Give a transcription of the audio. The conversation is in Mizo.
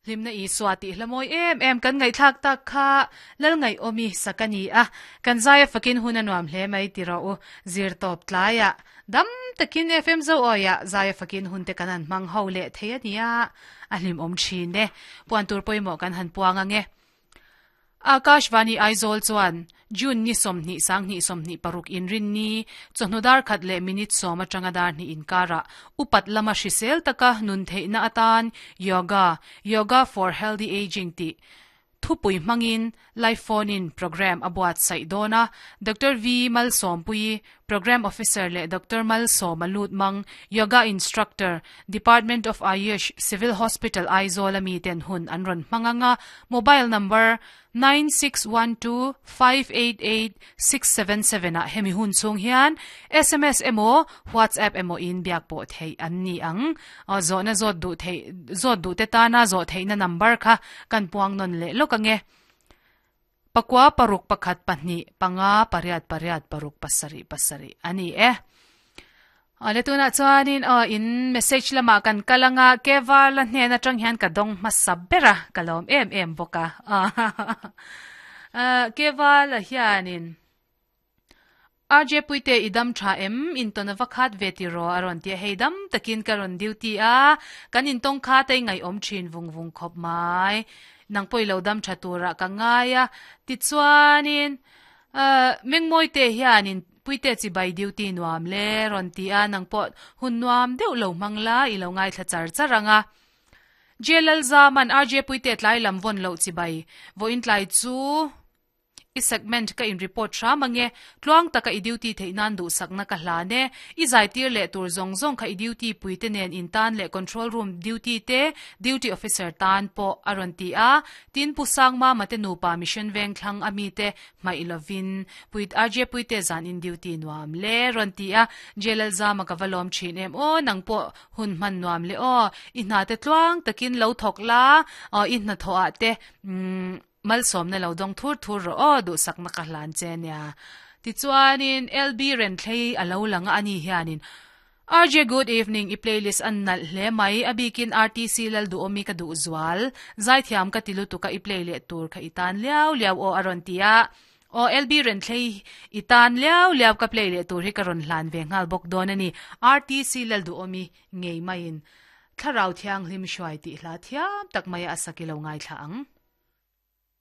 Hlimna Isua tih hla mawi em em kan ngaihthlak tak kha Lalngaihawmi sak a ni a, kan zaia fakin hun a nuam hle mai ti rawh u. Zir tawp tlaiah dam takin FM Zoawiah zaia fakin hun te kan han hmang ho leh thei a nia, a hlimawm thin e. Puan tur pawimawh kan han puang ang e. Akashvani Aizawl chuan June ni 20 sanghnih 26 inrinni chawhnu dar khat leh minute sawm atanga dar hnih inkarah upat lama hrisel taka nun theihna atan Yoga, Yoga for Healthy Ageing tih thupui hmangin live phone in programme a buatsaih dawn a. Doctor V Malsawmpuii, Programme Officer leh Doctor Malsawma Lutmang, Yoga Instructor, Department of Ayush, Civil Hospital Aizawl a miten hun an rawn hmang ang a, mobile number 9612588677 ah hemi hun chhung hian sms emaw WhatsApp emaw in biak pawh theih an ni ang. Zawhna zawt duh theih zawt duh te tana zawh theihna number kha kan puang nawn leh lawk ang e. Pakua paruk pakhat pahnih panga pariat pariat paruk pasarih pasarih a ni e. Awle tunah chuanin aw in message lamah kan kal anga Kevala hnen atang hian ka dawng hmasa ber a ka lawm em em bawk a. Kevala hianin RJ Puite i dam tha em? Intawn a va khat ve tiraw a rawn ti a, hei dam takin ka rawn duty a, kan intawng kha te ngaihawm thin vung vung khawp mai. Nang pawh i lo dam tha turah ka ngai a, tichuanin Mengmawite hianin Puite chibai duty nuam le rawn ti a, nang pawh hun nuam deuh lo hmang la i lo ngaithla char char ang a. J-Lalzaman RJ Puite tlai lam vawn loh chibai vawiin tlai chu. I segment ka in report hram ange, tluang taka i duty theih nan duhsakna ka hlan e. I zaitir leh tur zawng zawng kha i duty pui te nen in tan leh control room duty te, duty officer tan pawh a rawn ti a. Tin Pu Sangmama te nupa mission veng thlang a mi te hmaih lovin Puit RJ Puite zan in duty nuam le rawn ti a. J-Lalzama ka va lawm thin em aw, nang pawh hun hman nuam le aw. I hna te tluang takin lo thawk la, i hnathawh ah te umm. Malsawmna lo dawng thur thur rawh aw, duhsakna ka hlan che nia. Tichuanin LB Renthlei a lo lang a, ani hianin, RJ good evening, i playlist a nalh hle mai, a bikin RTC Lalduhawmi ka duh zual, zaithiam ka ti lutuk a i play leh tur kha i tan liau liau aw a rawn ti a. Aw LB Renthlei i tan liau liau ka play leh tur hi ka rawn hlan ve nghal bawk dawn a ni, RTC Lalduhawmi ngei maiin Thlarau Thianghlim hruai tih hla thiam tak maia a sak i lo ngaithla ang.